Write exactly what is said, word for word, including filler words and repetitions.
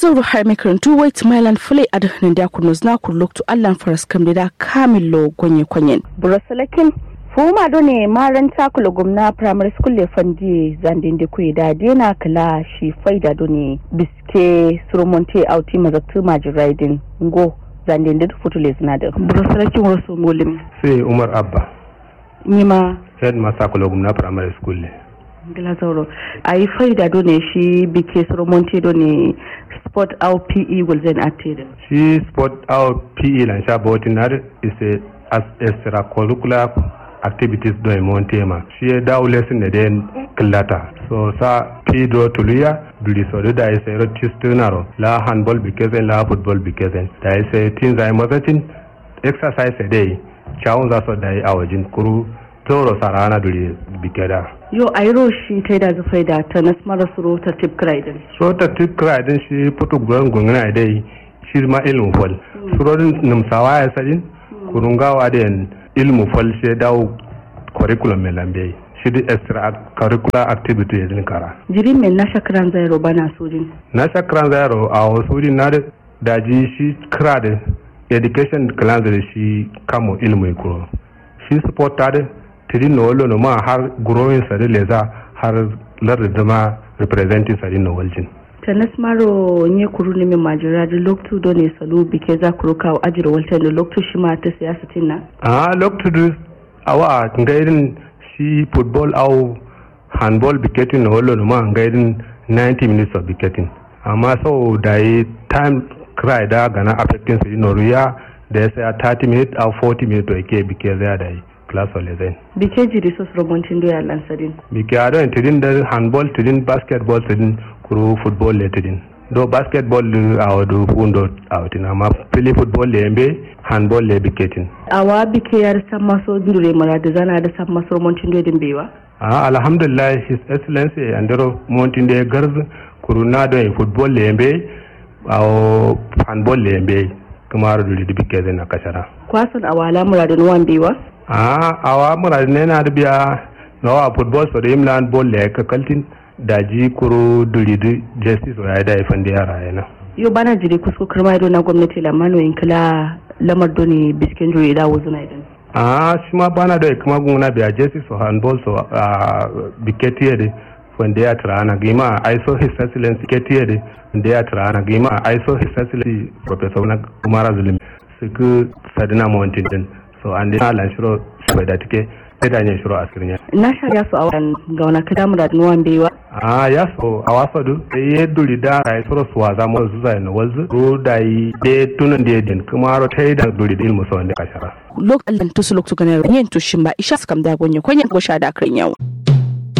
Zauro har mai karantu wai tuma ilan fulai adǝ nandi a kurno zǝna kuru loktu allan faras kam da kamillo gonye konyen. Buro salakin fuma done maranta kulo gumna primary school le fandi zande nde kuye da dena kala shi faida done biske surumonte auti mazaktu majiraidin ngo zande nde futu le zina da. Buro salakin wasu mulim. Sai umar abba. Nima. Head master kulo gumna primary school le. Ngila zauro. Ayi faida done shi bike surumonte done sport au pe gulzen attedin. Shi sport au pe lan sha botin ad is a as extracurricular activities done monte ma shi ya dawo lesson ne den killata. So sa pe do tuluya duri so da is a rotis tunaro la handball bikezen la football bikezen da is a tin zai mazacin exercise dai cawun za so dai a wajin kuru toro sarana duri bikeda. Yo airo shi tai da zufai da ta nasmara suro ta tip kraidin. Suro ta tip kraidin shi putu gwen gungna dai shi ma ilmu fal. Suro din numsawa ya sadin kurungawa da yan ilmu fal shi dawo curriculum mai lambe shi di extra curricular activity ya din kara. Jiri mai na shakran zairo bana sojin. Na shakran zairo a wasu din na da daji shi kira da education cleanse da shi kamo ilmu kuro shi sport ta da tidin no wallo no ma har growing sa da leza har lar da ma representing sa din no waljin. Tanas maro nye kuru ne mai majira da loktu do ne salu bike za kuru kawo ajiro walta da loktu shi ma ta siyasa tinna. A loktu du awa ngairin shi football au handball biketin no wallo no ma ngairin ninety minutes of biketin. Amma sau da yi time cry da gana affecting su ino ruya da ya saya thirty minutes au forty minutes to ke bike zai da yi class of lesson. Bike jiri so suro montin do ya lansadin. Bike a don tidin da handball tidin basketball tidin kuru football le tidin. Do basketball du a wadu fundo a wutin amma fili football le yambe handball le biketin. Awa bike yar samma so dure mara da zana da samma suro montin do din bewa. A alhamdulillah his excellency andero montin do ya garz kuru na don football le yambe awo handball le yambe. Kumaro duri di bikke zai na kashara. Kwasan awala muradin wan biwa. A awa muradin ne na da biya nawa football so da imlan ball le ka kaltin daji kuru duri di justice wa ya da ifan da yara yana. Yo bana jiri kusko kirma ido na gwamnati lamano in kila lamar doni bisken juri da wuzuna idan. A shi ma bana da kuma gunguna biya justice so handball so a biketiye de wanda ya tirana gima ai so his excellency ketiye de wanda ya tirana gima ai so his excellency professor na umara zulum. Siki sadina mountain din so ande na lan shiro bai da tike sai da ne shiro askirnya. Na sha ya so awan gauna kada murad nuwan bewa. A ya so awa so du sai ya duri da rai soro suwa za mu zuza na walzu ro da yi de tunan de din kuma ro tai da duri din muso wanda kashara. Lok allan tusu lok tukana yen tushin ba isha skam da gonye konye gosha da kan yawo.